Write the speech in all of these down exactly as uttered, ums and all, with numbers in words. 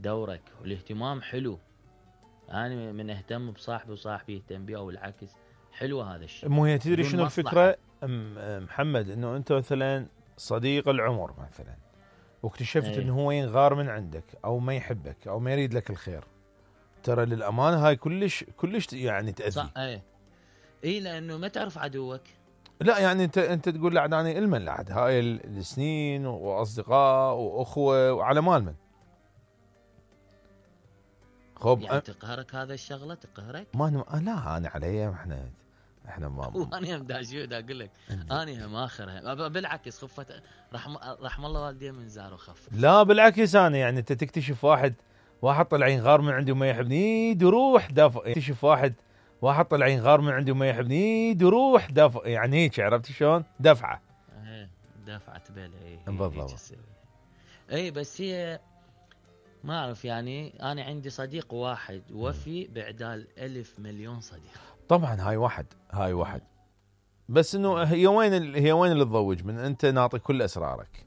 دورك والاهتمام حلو. انا من اهتم بصاحبي وصاحبي يهتم بي او العكس، حلو هذا الشيء. مو هي تدري بدون شنو مصلحة. الفكره ام- محمد، انه انت مثلا صديق العمر مثلا واكتشفت ايه. انه هو ينغار من عندك او ما يحبك او ما يريد لك الخير، ترى للامانه هاي كلش كلش يعني تاذي. صح. ايه اي لانه ما تعرف عدوك. لا يعني انت انت تقول لعد انا المن لعد هاي السنين واصدقاء واخوه وعلى مال من خب يعني تقهرك هذا الشغله تقهرك؟ ما أنا لا انا علي احنا احنا ما وانا هم داشيو دا اقول لك انا هم اخرها بالعكس خفت رحم رحم الله والدي من زار وخف. لا بالعكس انا يعني انت تكتشف واحد واحد طلع ينغار من عندي وما يحبني دروح دافع، تكتشف واحد واحد طلع ينغار من عندي وما يحبني دروح دافع، يعني هيك عرفت شلون دفعه. ايه دفعت بالي. ايه بالضبط. اي بس هي ما اعرف يعني انا عندي صديق واحد وفي بعدال ألف مليون صديق. طبعا هاي واحد هاي واحد بس انه هي وين ال... هي وين اللي تضوج من انت ناطي كل اسرارك.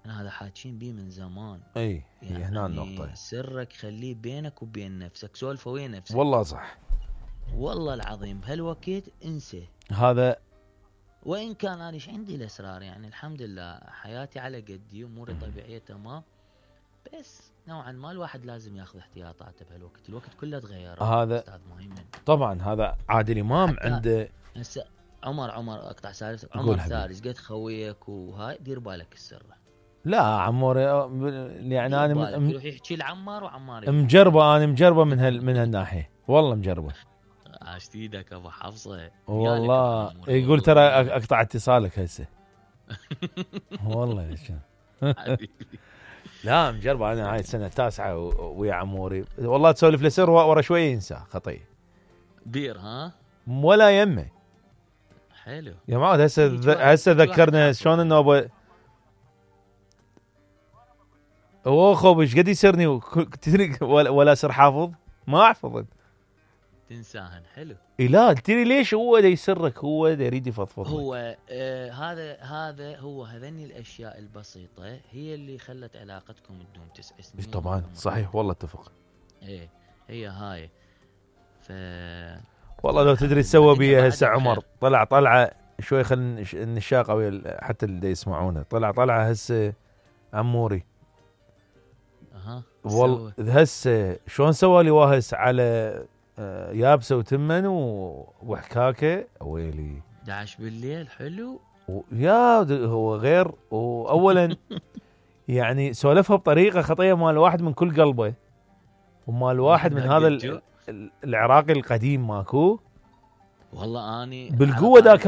أنا هذا حاكين بيه من زمان. اي يعني هي هنا النقطة. سرك خليه بينك وبين نفسك، سولفه وين نفسك. والله صح. والله العظيم بهالوقت انسى. هذا وإن كان أنا إيش عندي الأسرار يعني الحمد لله حياتي على قدي أموري طبيعية تمام، بس نوعا ما الواحد لازم ياخذ احتياطاته بهالوقت، الوقت كله تغير. هذا أستاذ مهيمن طبعا هذا عادل إمام عنده. هسه عمر عمر أقطع سالس عمر ثالث قد خويك وهاي دير بالك السر. لا عمور يعني انا م... يروح يحكي لعمار وعمار مجربه انا مجربه من هال من هالناحيه والله مجربه. عاشت ايدك ابو حفصه والله يقول ترى اقطع اتصالك هسه. والله لا مجربه انا هاي السنه التاسعه ويا عموري والله تسولف لسر ورا شويه ينسى خطيه بير ها ولا يمه. حلو يا معود هسه هسه ذكرنا شلون انه ابو اوه ايش قد يسرني ولا سر حافظ ما احفظ تنساهن. حلو. لا تدري ليش هو دا يسرك، هو دا يريد يفضفض. هو آه هذا هذا هو هذني الاشياء البسيطه هي اللي خلت علاقتكم تدوم تسع سنين. طبعا صحيح والله اتفق. ايه هي هاي ف والله لو تدري تسوى بيها هسه عمر طلع طلعه شوي خل النشاق او حتى اللي يسمعونه طلع طلعه هسه عموري. اها والله هسه شلون سوى لي واهس على يابسه وتمن وحكاكه ويلي دعش بالليل. حلو يا هو غير. واولا يعني سولفها بطريقه خطيه مال واحد من كل قلبه ومال واحد من هذا العراقي القديم ماكو. والله اني بالقوه دا كمل